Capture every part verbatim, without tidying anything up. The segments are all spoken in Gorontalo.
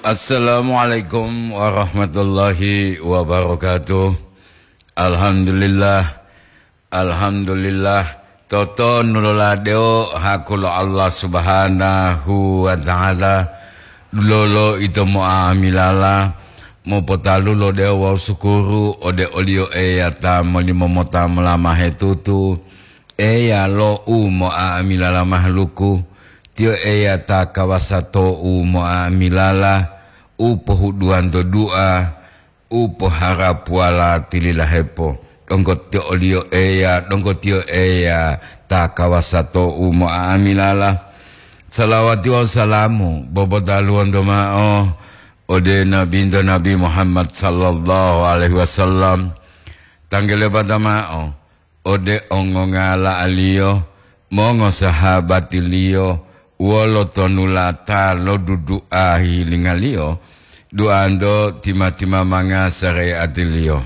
Assalamualaikum warahmatullahi wabarakatuh. Alhamdulillah. Alhamdulillah. Toto nuloladewo haku lo Allah Subhanahu wa Ta'ala. Dulolo ito mo'amilala, mopotalulo dewo wawu sukuru ode oliyo Eya ta molimo mota molamahe tutu. Eya lo u mo'amilala mahaluku, Tiyo Eya ta kawasa to u mo'amilala, u pohuduwanto du'a, u poharapuwala tililahepo. Donggo Tiyo oliyo Eya, donggo Tiyo Eya ta kawasa to u mo'amilala. Salawati wawu salamu bobotaluwonto ma'o ode Nabinto Nabi Muhammad sallallahu alaihi wasallam. Tanggelebata ma'o ode ongongala'aliyo, mongosahabatiliyo, wolo tonulata lo dudu'a hilingaliyo, duanto tima-timamanga sareatiliyo.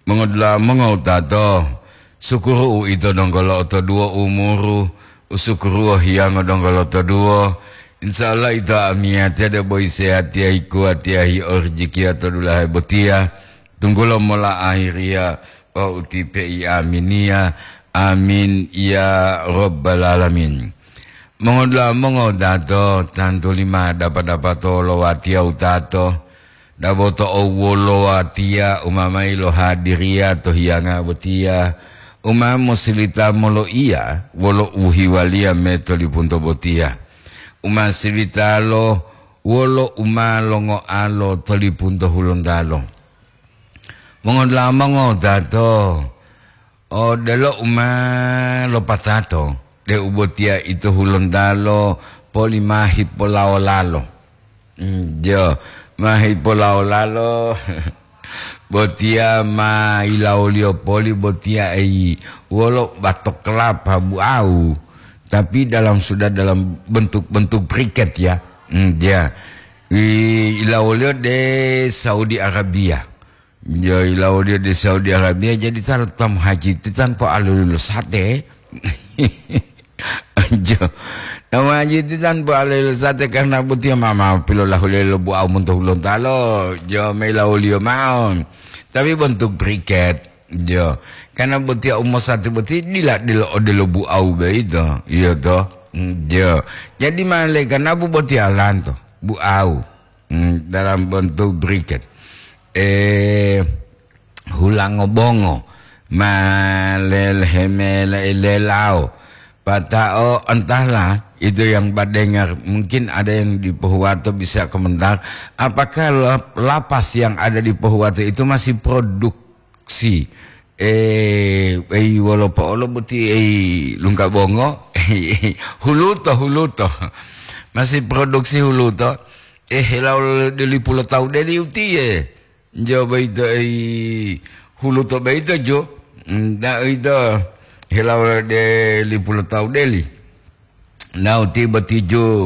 Mongodula'a mongowutato, sukuru uito donggo lo'otoduwo umuru, usukuruwo hiyango donggo lotoduwo. Insya Allah ito amiyatiya debo isehatiya hikuwatiya hi'orijikiya to dulahe botiya, tunggulo mola ahiriya wawu utipe'i aminiya. Amin ya rabbal alamin. Mongodula'a mongowutato, tantu lima dapa-dapato lo watiya wutato, dabo to owwolo watiya umamayi lo hadiriya to hiyanga botiya, uma mosilita moloiya wolo uhiwaliya me to lipunto botiya, uma silitalo wolo uma longoalo to lipunto hulontalo. Mongodula'a mongowutato, odelo u ma lopatato, deu botiya ito hulontalo poli ma hipolawo-lalo. Mm, jo, ma hipolawo-lalo, botiya ma yilawoliyo poli botiya eyi wolo bato kelapa bu'awu, tapi dalam, sudah dalam bentuk-bentuk briket ya. Mm, ya. I-, yilawoliyo de Saudi Arabia. Yo, yilawoliyo de Saudi Arabia, jadi ta-, tamu haji ti tanpa aluli lo sate. Jo, tamu haji ti tanpa aluli lo sate karena botiya ma, ma pilolahulelo bu'awu monto hulontalo. Jo, ma yilawoliyo ma'o. Tapi bentuk briket. Jo, karena botiya u mosate boti dila, dila odelo bu'awu boyito. Iyo to. Mm, jo. Jadi malaikanabu botiya lanto bu'awu. Hmm, dalam bentuk briket. Eh, hulango bongo, ma lelehemela ilelao. Pata'o entahlah itu yang badengar. Mungkin ada yang di Pohuwato bisa komentar. Apakah lap-, lapas yang ada di Pohuwato itu masih produk si, eh, ei, wolo po'olo boti, ei, lungka bongo, huluto, huluto. Masih produksi huluto. Eh, helawo de lipu lo tawu deli utiye. Jo boyito, ei, huluto boyito jo. Nda uwito, helawo de lipu lo tawu deli. Nda uti boti jo.